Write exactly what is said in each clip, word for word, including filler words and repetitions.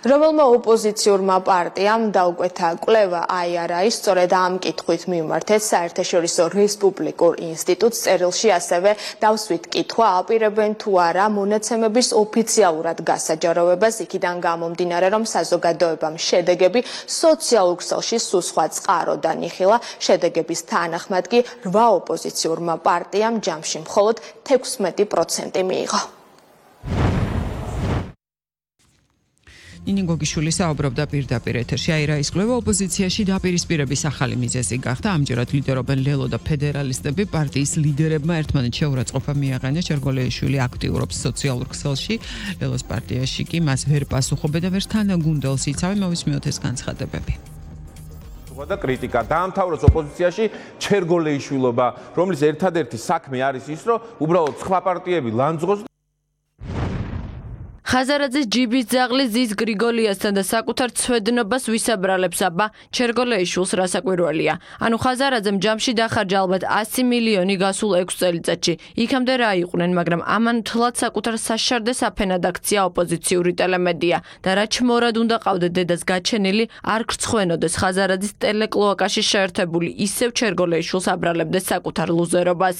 რომელმა ოპოზიციურმა პარტიამ დაუკვეთა კვლევა აიარაის, სწორედ ამ კითხვით მიმართეთ საერთაშორისო რესპუბლიკურ ინსტიტუტს წერილში ასევე დავსვით კითხვა აპირებენ თუ არა მონაცემების ოფიციალურად გასაჯაროვებას, იქიდან გამომდინარე, რომ საზოგადოებამ შედეგები სოციალურ ქსელში სულ სხვა წყაროდან იხილა. შედეგების თანახმად კი რვა ოპოზიციურმა პარტიამ ჯამში მხოლოდ თექვსმეტი პროცენტი მიიღო. ნინი გოგიშვილი საუბრობდა პირდაპირ ეთერში. აირაის კვლევა ოპოზიციაში დაპირისპირების ახალი მიზეზი გახდა. ამჯერად ლიდერობენ ლელო და ფედერალისტები. პარტიის ლიდერებმა ერთმანეთს შეურაცხყოფა მიაღწიეს. ჩერგოლეიშვილი აქტიურობს სოციალურ ქსელში. ლელოს პარტიაში კი მას ვერ პასუხობენ და ვერ თანაგუნდელს იცავენ. მოვისმინოთ ეს განცხადებები. და კრიტიკა დაამთავროს ოპოზიციაში ჩერგოლეიშვილობა, რომლის ერთადერთი საქმე არის ის, რომ უბრალოდ სხვა პარტიები ლანძღოს. ხაზარაძის ჯიბის ძაღლი ზის გრიგოლიასთან და საკუთარ ცვედნობას ვისაბრალებს აბა ჩერგოლეიშვილს რასაკვირველია. ანუ ხაზარაძემ ჯამში დახარჯა ალბათ ასი მილიონი გასულ ექვს წელიწადში. იქამდე რა იყვნენ, მაგრამ ამან თლად საკუთარ საშარდეს აფენად აქცია ოპოზიციური ტელემედია და რა ჩმორად უნდა ყავდეთ დედას გაჩენილი, არ გრცხვენოდეს ხაზარაძის ტელეკლოაკაში შეერთებული ისევ ჩერგოლეიშვილს აბრალებდეს საკუთარ ლუზერობას.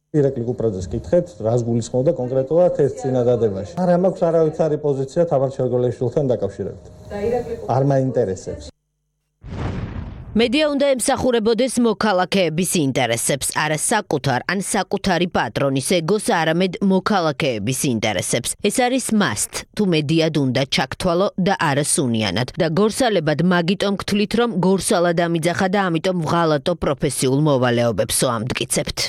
ირაკლი კუპრაძეს კითხეთ, რას გულისხმობდა კონკრეტულად ეს წინადადებაში. არა მაქვს არავითარი პოზიცია თამარ ჩერგოლეიშვილთან დაკავშირებით. არ მაინტერესებს. მედია უნდა ემსახურებოდეს მოქალაქეების ინტერესებს, არა საკუთარ ან საკუთარი პატრონის ეგოს, არამედ მოქალაქეების ინტერესებს. ეს არის must, თუ მედიად უნდა ჩაქთვალო და არა სუნიანად. და გორსალებად მაგიტომ გთვლით, რომ გორსალად ამიძახა და ამიტომ ვღალატო პროფესიულ მოვალეობებსო ამტკიცებთ.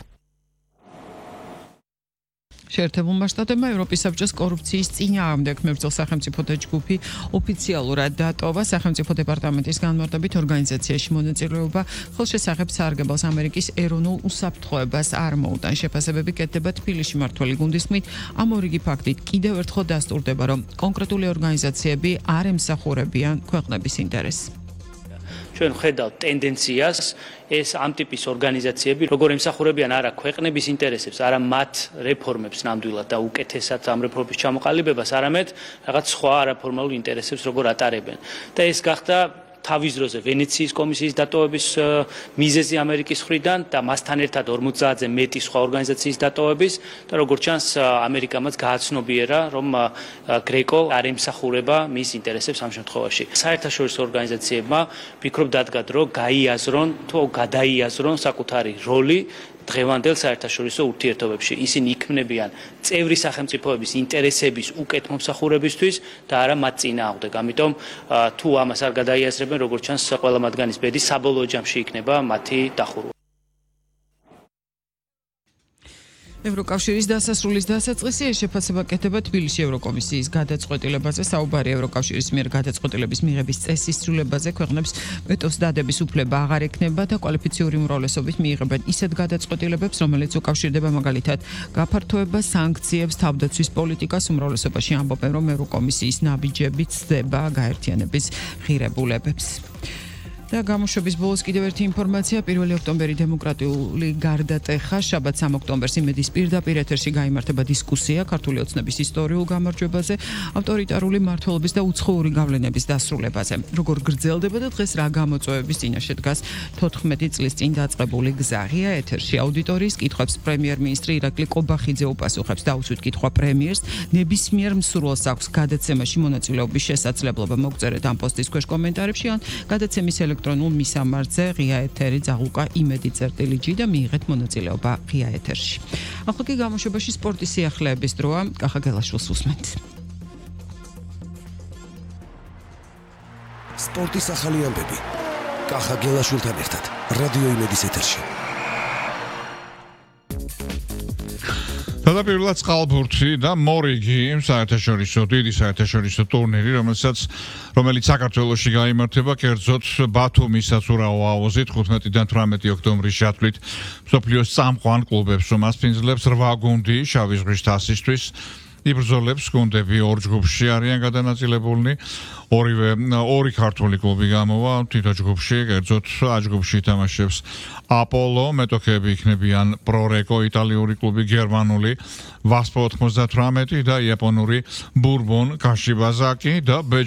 შეერთებულმა შტატებმა ევროპის საბჭოს კორუფციის წინააღმდეგ მებრძოლ სახელმწიფოთა ჯგუფი ოფიციალურად დატოვა. სახელმწიფო დეპარტამენტის განმარტებით ორგანიზაციაში მონაწილეობა ხელშესახებ სარგებელს ამერიკის ეროვნულ უსაფრთხოებას არ მოუტან. შეფასებები კეთდება თბილისში მართველი გუნდის თქმით, ამ ორიგი ფაქტით კიდევ ერთხელ დასტურდება, რომ კონკრეტული ორგანიზაციები არ ემსახურებიან ქვეყნების ინტერესს. ჩვენ ხედავთ ტენდენციას, ეს ამ ტიპის ორგანიზაციები როგორ ემსახურებიან არა ქვეყნების ინტერესებს, არა მათ რეფორმებს ნამდვილად და უკეთესად ამ რეფორმების ჩამოყალიბებას, არამედ რაღაც სხვა არაფორმალურ ინტერესებს როგორ ატარებენ. და ეს გახდა თავის დროზე ვენეციის კომისიის დატოვების მიზეზი ამერიკის მხრიდან და მასთან ერთად ორმოცდაათზე მეტი სხვა ორგანიზაციის დატოვების და როგორც ჩანს ამერიკამაც გააცნობიერა, რომ გრეკო არ ემსახურება მის ინტერესებს ამ შემთხვევაში. საერთაშორისო ორგანიზაციებმა ფიქრობ დადგათ, რომ გაიაზრონ თუ გადაიაზრონ საკუთარი როლი დღევანდელ საერთაშორისო ურთიერთობებში. ისინი იქმნებიან წევრი სახელმწიფოების ინტერესების უკეთ მომსახურებისთვის და არა მათ წინააღმდეგ. ამიტომ თუ ამას არ გადაიაზრებენ, როგორც ჩანს, ყველა მათგანის ბედი საბოლოო ჯამში იქნება მათი დახურვა. ევროკავშირის დასასრულის დასაწყისი ეს შეფასება კეთდება თბილისში ევროკომისიის გადაწყვეტილებაზე. საუბარია ევროკავშირის მიერ გადაწყვეტილების მიღების წესის ცვლილებაზე. ქვეყნებს ვეტოს დადების უფლება აღარ ექნება და კვალიფიციური უმრავლესობით მიიღებენ ისეთ გადაწყვეტილებებს, რომელიც უკავშირდება მაგალითად გაფართოებას, სანქციებს, თავდაცვის პოლიტიკას. უმრავლესობაში ამბობენ, რომ ევროკომისიის ნაბიჯები ცდება გაერთიანების ღირებულებებს. და გამოშვების ბოლოს კიდევ ერთი ინფორმაცია. პირველი ოქტომბერი დემოკრატიული გარდატეხა. შაბათ სამი ოქტომბერს იმედის პირდაპირ ეთერში გაიმართება დისკუსია ქართული ოცნების ისტორიულ გამარჯვებაზე, ავტორიტარული მმართველობის და უცხოური გავლენების დასრულებაზე. როგორ გრძელდება და დღეს რა გამოწვევების წინაშე დგას თოთხმეტი წლის წინ დაწყებული გზა. ღია ეთერში აუდიტორიის კითხვებს პრემიერ-მინისტრი ირაკლი ყობახიძე უპასუხებს. დაუსვით კითხვა პრემიერს, ნებისმიერ მსურველს აქვს გადაცემაში მონაწილეობის შესაძლებლობა. მოგწერეთ ამ პოსტის ქვეშ კომენტარებში ან გადაცემის ელექტრონულ მისამართზე ღია ეთერი ძაღლუკა იმედი წერტილი ჯი და მიიღეთ მონაწილეობა ღია ეთერში. ახლა კი გამოშვებაში სპორტის სიახლეების დროა. კახა გელაშვილს უსმენთ. სპორტის ახალი ამბები. კახა გელაშვილთან ერთად რადიო იმედის ეთერში. Გადაპირულად წყალბურთი და მორიგი საერთაშორისო დიდი საერთაშორისო ტურნირი, რომელსაც რომელიც საქართველოში გაიმართება, კერძოდ ბათუმის საცურაო აუზით ხუთმეტიდან თვრამეტი ოქტომბრის ჩათვლით მსოფლიოს წამყვან კლუბებს უმასპინძლებს რვა გუნდი შავი ზღვის თასისთვის. იბრძოლებს გუნდები ორ ჯგუფში არიან გადანაწილებულნი. ორივე ორი ქართული კლუბი გამოვა თითო ჯგუფში, კერძოდ ა ჯგუფში ითამაშებს აპოლო, მეტოქეები იქნებიან პრორეკო, იტალიური კლუბი, გერმანული ვასპო ოთხმოცდათვრამეტი და იაპონური ბურბონ კაშიბაზაკი და ბ